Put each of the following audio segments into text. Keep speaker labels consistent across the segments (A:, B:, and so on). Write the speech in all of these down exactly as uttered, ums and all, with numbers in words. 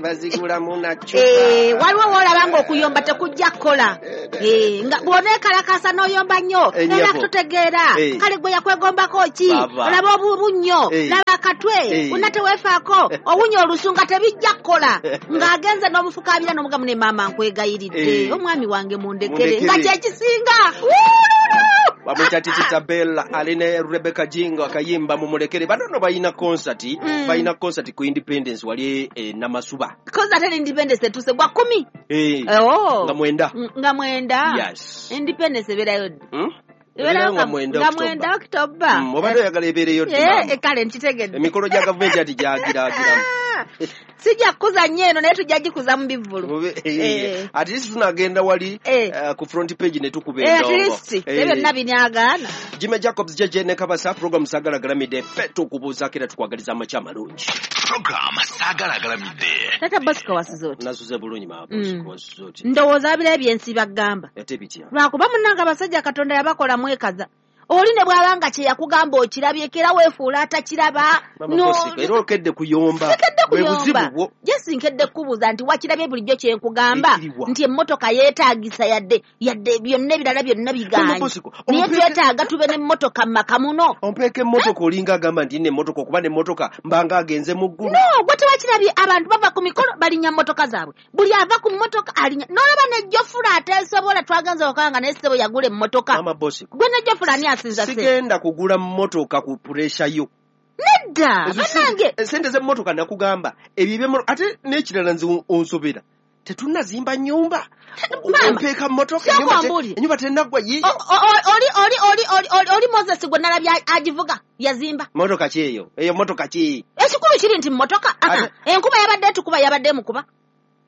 A: Bazigulamu nacupa.
B: Eh, waliwo w'olaba ng'okuyomba tekujja kukola. Eh, nga bw'oneekalakaasa n'oyomba nnyo, era kututegeera. Kale gwe yakwegombako ki? Olaba obubunnyo, laba akatwe, wonna teweefaako, owunya olusu nga tebijja kukola. Ng'agenze n'omufukaabira n'omugamu ne maama nkwegayiridde. Omwami wange mundekere. Nga kye kisinga.
A: Bamuyita Titi Bella aline Rebecca Jingo akayimba mumulekere. Banono balina concert, mm. balina concert ku Independence wali eh, Namasuba.
B: Concert ya Independence etuse gwa kumi.
A: Eh.
B: Oh.
A: Nga mwenda.
B: Nga mwenda.
A: Yes.
B: Independence ebeerayo.
A: Hmm?
B: Ebeerayo nga mwenda Nga October.
A: Mm, obadde oyagala ebeereyo ddi?
B: Eh, kale nkitegedde.
A: Emikolo gya gavumenti ati gyagiragiramu.
B: Sijja kukuza nnyo eno naye tujja gikuza mu bivvulu.
A: Eh. At least tunagenda wali
B: eh.
A: uh, ku front page ne tukuba
B: endongo.
A: Eh,
B: at least ebyo byonna binaagaana.
A: Jimmy Jacobs J J ne Kabasa program Sagala Galamidde ffe tukubuuzaako era tukwagaliza amakya amalungi.
C: Program Sagala Galamidde.
B: Tata Bosco wasuze oti?
A: Nasuze bulungi maama Bosco wasuze oti?
B: Ndowooza abira ebyensi bagamba.
A: Ate bitya?
B: Lwakuba munnange abasajja Katonda yabakola mwekaza. Oli ne bw'abanga kye yakugamba okirabyeko era weefuula atakiraba.
A: No, era okedde kuyomba.
B: Bwe buzibu bwo. Jesi nkedde kukubuuza nti wakirabye bulijjo kye nkugamba nti emmotoka yeetaagisa yadde yadde byonna ebirala byonna bigaanye. Naye twetaaga tube n'emmotoka mu maka muno.
A: Ompeeka emmotoka olinga agamba nti nina emmotoka okuba n'emmotoka mbanga agenze mu ggulu.
B: No, gwe tewakirabye abantu bava ku mikolo balinnya mmotoka zaabwe. Buli ava ku mmotoka alinnya. N'olaba ne Jofula ateesobola twagenze okukanga naye ssebo yagula emmotoka.
A: Mama Bosco.
B: Gwe ne Jofula ani
A: sigenda kugula mmotoka ku pressure yo.
B: Nedda, bannange.
A: Sente z'emmotoka nakugamba ebyo ate n'ekirala nze onsobera. Tetunnazimba nnyumba. Ompeeka mmotoka ennyumba tennaggwa yiiyo.
B: Oli oli oli oli oli Moses gwe nalabye agivuga yazimba.
A: Mmotoka ki eyo? Eyo mmotoka ki?
B: Ekikulu kiri nti mmotoka. Enkuba yabadde etukuba yabadde emukuba.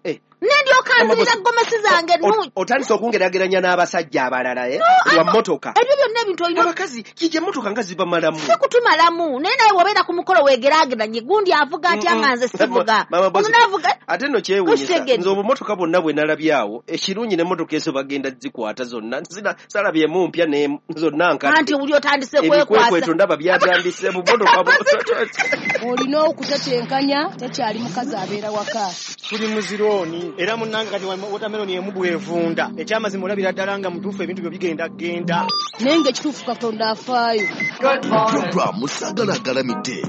A: Eh.
B: Nendyoka nzirira gomesi zange nnungi.
A: Otandise okungeraageranya n'abasajja abalala eh? Lwa mmotoka.
B: Ebyo byonna ebintu olina.
A: Abakazi kiki emmotoka nga zibamalamu?
B: Si kutumalamu. Naye nawe bw'obeera ku mukolo weegeraageranye gundi avuga atya nga nze sivuga.
A: Ono
B: n'avuga.
A: Ate nno kyewuunyisa nze obumotoka bwonna bwe nalabye awo ekirungi n'emmotoka ezo bagenda zikwata zonna. Salabyemu mpya ne zonna nkadde.
B: Anti oli otandise kwekwasa.
A: Ebikwekweto ndaba byatandise bumotoka.
D: Olina okutetenkanya tekyali mukazi abeera waka.
E: Tuli muzironi era munnange kati watermelon emu bw'evunda ekyamazima olabira ddala nga mutuufu ebintu byo bigenda genda.
D: Naye ng'ekituufu Katonda afaayo.
C: Program Sagala Galamidde.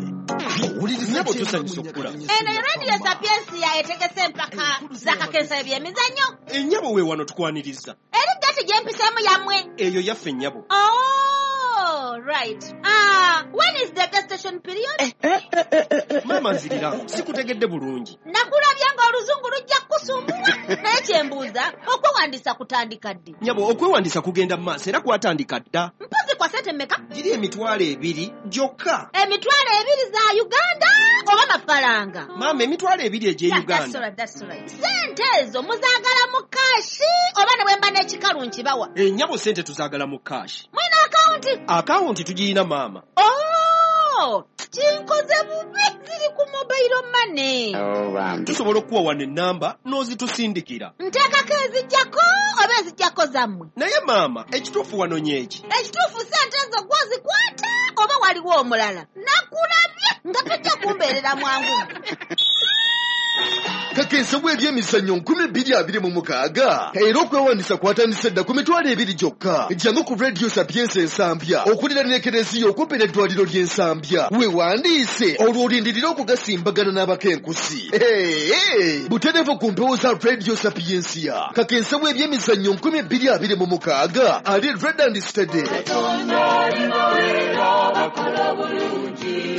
A: Nnyabo tusanyusa okukulaba.
B: Eno Radio Sapiensia etegese empaka z'akakensa eby'emizannyo.
A: Ennyabo we wano tukwaniriza.
B: Eri gati gye mpiseemu yammwe.
A: Eyo yaffe nnyabo.
B: Oh, right. Ah, when is the gestation period?
A: Eh, eh, eh, eh, eh. Maama nzirira, sikutegedde bulungi.
B: Nakulabye ng'oluzungu lujja kukusumbuwa. Naye kye mbuuza, okwewandiisa kutandika ddi?
A: Nnyabo, okwewandiisa kugenda mu maaso era kwatandika dda.
B: Mpozi kwa ssente mmeka?
A: Giri emitwalo ebiri gyokka.
B: Emitwalo ebiri za Uganda oba mafaranga?
A: Maama, emitwalo ebiri egy'e Uganda.
B: That's all right, that's all right. Ssente ezo muzaagala mu kaashi oba ne bwe mba n'ekikalu nkibawa?
A: Ennyabo ssente tuzaagala mu kaashi.
B: Mulina akawunti?
A: Akawunti tugirina maama.
B: Oh, kinkoze bubi ziri ku mobile money.
A: Tusobola okuwa wano ennamba n'ozitusindikira.
B: Nteekako ezijjako oba ezijjako zammwe?
A: Naye maama, ekituufu wano nyeeki.
B: Ekituufu ssente ezo gw'ozikwata oba waliwo omulala? Nakulabye nga tojja kumbeerera mwangu.
F: Kakensa bw'ebyemizannyo nkumi bbiri abiri mu mukaaga era okwewandiisa kwatandise dda ku mitwalo ebiri gyokka. Jangu ku Radio Sapiensia Ensambya okuliraana ekereziya okumpi n'eddwaliro ly'Ensambya weewandiise olwo olindirire okugasimbagana n'abakenkusi. Butereevu ku mpewo za Radio Sapiensia. Kakensa bw'ebyemizannyo nkumi bbiri abiri mu mukaaga ali red and steady.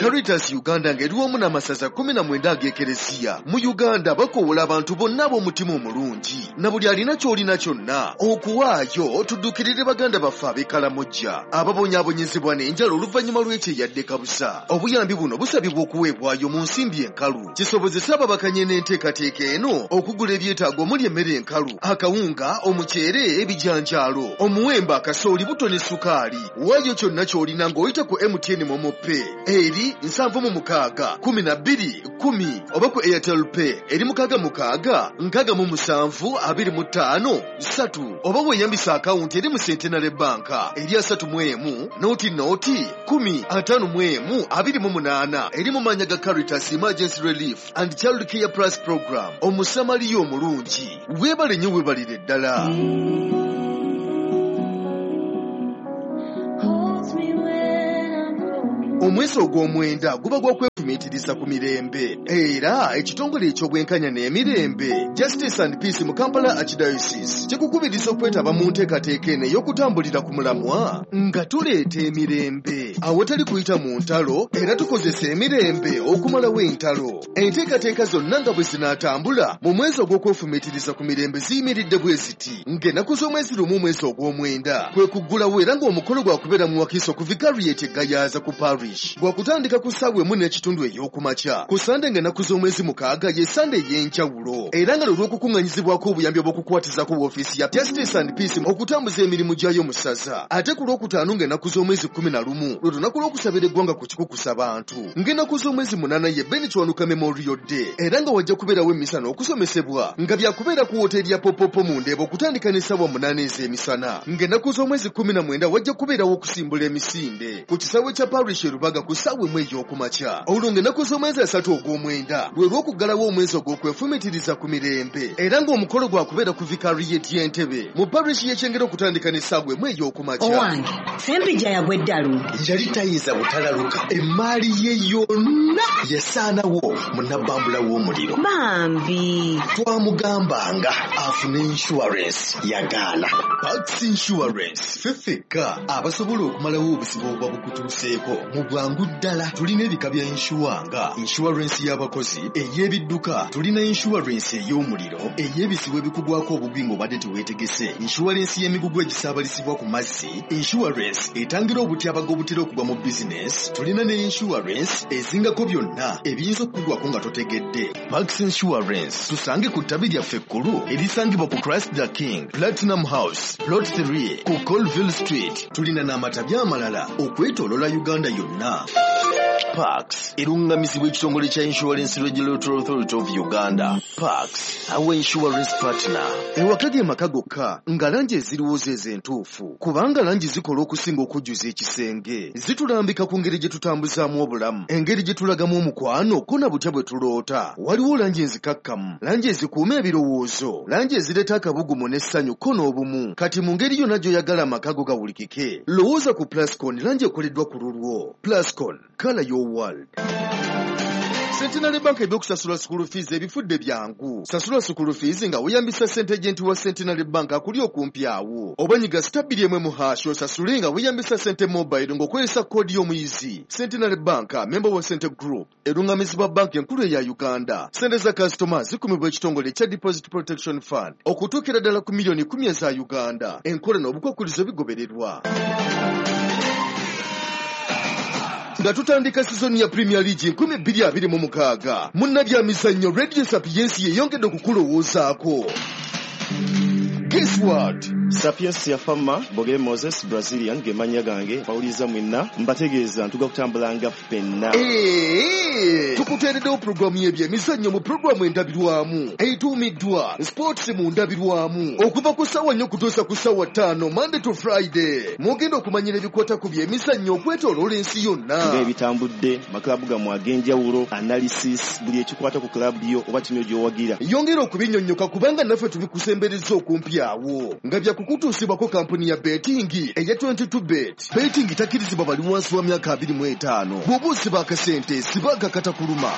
F: Caritas Uganda ng'eri wamu n'amasaza kkumi na mwenda ag'ekereziya mu Uganda bakoowola abantu bonna ab'omutima omulungi na buli alina ky'olina kyonna okuwaayo tuddukirire baganda baffe ab'e Kalamojja ababonyaabonyezebwa n'enjala oluvannyuma lw'ekyeyadde kabusa. Obuyambi buno busabibwa okuweebwayo mu nsimbi enkalu kisobozese ababakanye n'enteekateeka eno okugula ebyetaago omuli emmere enkalu, akawunga, omuceere, ebijanjaalo, omuwemba, akasooli, buto ne sukaali. Waayo kyonna ky'olina ng'oyita ku M T N MoMo Pay eri bbiri nsanvu mu mukaaga kumi na bbiri kumi oba ku Airtel Pay eri mukaaga mukaaga nkaaga mu musanvu abiri mu ttaano ssatu oba weeyambisa akawunti eri mu Centenary Bank eri asatu mu emu noti noti kumi ataano mu emu abiri mu munaana eri mu maannya ga Caritas Emergency Relief and Child Care Plus Program. Omusamaliya omulungi weebale nnyo weebalire ddala. Omwezi ogw'omwenda guba gwa kwefumiitiriza ku mirembe era ekitongole eky'obwenkanya n'emirembe Justice and Peace mu Kampala Archdiocese kikukubiriza okwetaba mu nteekateeka eno ey'okutambulira ku mulamwa nga tuleeta emirembe awatali kuyita mu ntalo era tukozesa emirembe okumalawo entalo. Enteekateeka zonna nga bwe zinaatambula mu mwezi ogw'okwefumiitiriza ku mirembe ziyimiridde bwe ziti ng'ennaku z'omwezi lumu omwezi ogw'omwenda kwe kuggulawo era ng'omukolo gwakubeera mu Wakiso ku Vicariate Gayaza ku Parish gwakutandika ku ssaawa emu n'ekitundu ey'okumakya. Ku Sande ng'ennaku z'omwezi mukaaga ye Sande ey'enjawulo era nga lw'okukuŋŋanyizibwako obuyambi obw'okukwatizako woofiisi ya Justice and Peace okutambuza emirimu gyayo mu ssaza. Ate ku lwokutaano ng'ennaku z'omwezi kkumi na lumu lwe lunaku lw'okusabira eggwanga ku kikukusa bantu. Ng'ennaku z'omwezi munaana ye Ben Kiwanuka Memorial Day era nga wajja kubeerawo emmisa n'okusomesebwa nga byakubeera ku wooteeri ya Popopo mu Ndeeba okutandika n'essaawa munaana ez'emisana. Ng'ennaku z'omwezi kkumi na mwenda wajja kubeerawo okusimbula emisinde ku kisaawe kya Parish Rubaga ku ssaawa emu ey'okumakya. Olwo ng'ennaku z'omwezi asatu ogw'omwenda lwe lw'okuggalawo omwezi ogw'okwefumiitiriza ku mirembe era ng'omukolo gwakubeera ku Vicariate y'Entebe mu parish y'Ekyengera okutandika n'essaawa emu ey'okumakya.
G: Owange Sempijja yagwa eddalu.
F: Yali tayinza butalaluka, emmaali ye yonna yasaanawo mu nabbambula w'omuliro.
G: Bambi
F: twamugambanga afune insurance yagaana. Pax Insurance ffe ffekka abasobola okumalawo obuzibu obuba bukutuuseeko mu bwangu ddala. Tulina ebika bya inshuwa nga insurance y'abakozi, ey'ebidduka, tulina insurance ey'omuliro, ey'ebizibu ebikugwako obugwi ng'obadde teweetegese, insurance y'emigugu egisaabalizibwa ku mazzi, insurance etangira obutyabaga obutera okugwa mu bizinesi, tulina ne insurance ezingako byonna ebiyinza okukugwako nga totegedde. Pax Insurance tusange ku ttabi lyaffe ekkulu erisangibwa ku Christ the King Platinum House Plot three ku Colville Street. Tulina n'amatabi amalala okwetooloola Uganda yonna. Pax erungamizibwa ekitongole kya Insurance Regulatory Authority of Uganda. Pax, our insurance partner. Ewaka ge maka gokka nga langi eziriwo ze entuufu kubanga langi zikola okusinga okujjuza ekisenge. Zitulambika ku ngeri gye tutambuzaamu obulamu, engeri gye tulagamu omukwano ko na butya bwe tuloota. Waliwo langi enzikakkamu, langi ezikuuma ebirowoozo, langi ezireeta akabugumu n'essanyu ko n'obumu. Kati mu ngeri yonna gy'oyagala amaka go gawulikike, lowooza ku Plascon, langi ekoleddwa ku lulwo. Plascon, color your world. Centenary Bank ebyokusasula school fees ebifudde byangu. Sasula school fees nga weeyambisa ssente agent wa Centenary Bank akuli okumpi awo. Oba nyiga star bbiri emu mu hash osasule nga weeyambisa ssente mobile ng'okozesa koodi y'omuyizi. Centenary Bank, member wa Sente Group, erungamizibwa banki enkulu eya Uganda. Ssente za kasitoma zikumibwa ekitongole ekya Deposit Protection Fund okutuukira ddala ku miliyoni kumi eza Uganda. Enkola n'obukwakkulizo bigobererwa. Nga tutandika sizoni ya Premier League nkumi bbiri abiri mu mukaaga, munnabyamizannyo Radio Sapiensi yeyongedde okukulowoozaako. Guess what?
H: Sapiensia Fama, Bogere Moses, Brazilian, gemanya gange, bawuliza mwenna, mbategeeza ntuga kutambulanga ffenna.
F: Hey, tukuteereddewo pulogulaamu y'ebyemizannyo mu pulogulaamu endabirwamu etuumiddwa Sports mu ndabirwamu okuva ku ssaawa nnya okutuusa ku ssaawa ttaano Monday to Friday. Mugenda okumanyira ebikwata ku byemizannyo okwetooloola ensi yonna.
H: Ng'ebitambudde, maklabu gammwe ag'enjawulo, analysis, buli ekikwata ku klabu yo oba ttiimu gy'owagira.
F: Yongera okubinnyonnyoka kubanga naffe tubikusembereza okumpi awo nga bya kukutuusibwako kampuni ya betting eya twenty-two bet. Betting takkirizibwa bali wansi wa myaka abiri mu etaano. Bw'oba osiba akasente siba akakata kuluma.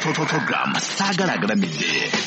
C: Program Saagala Agalamidde.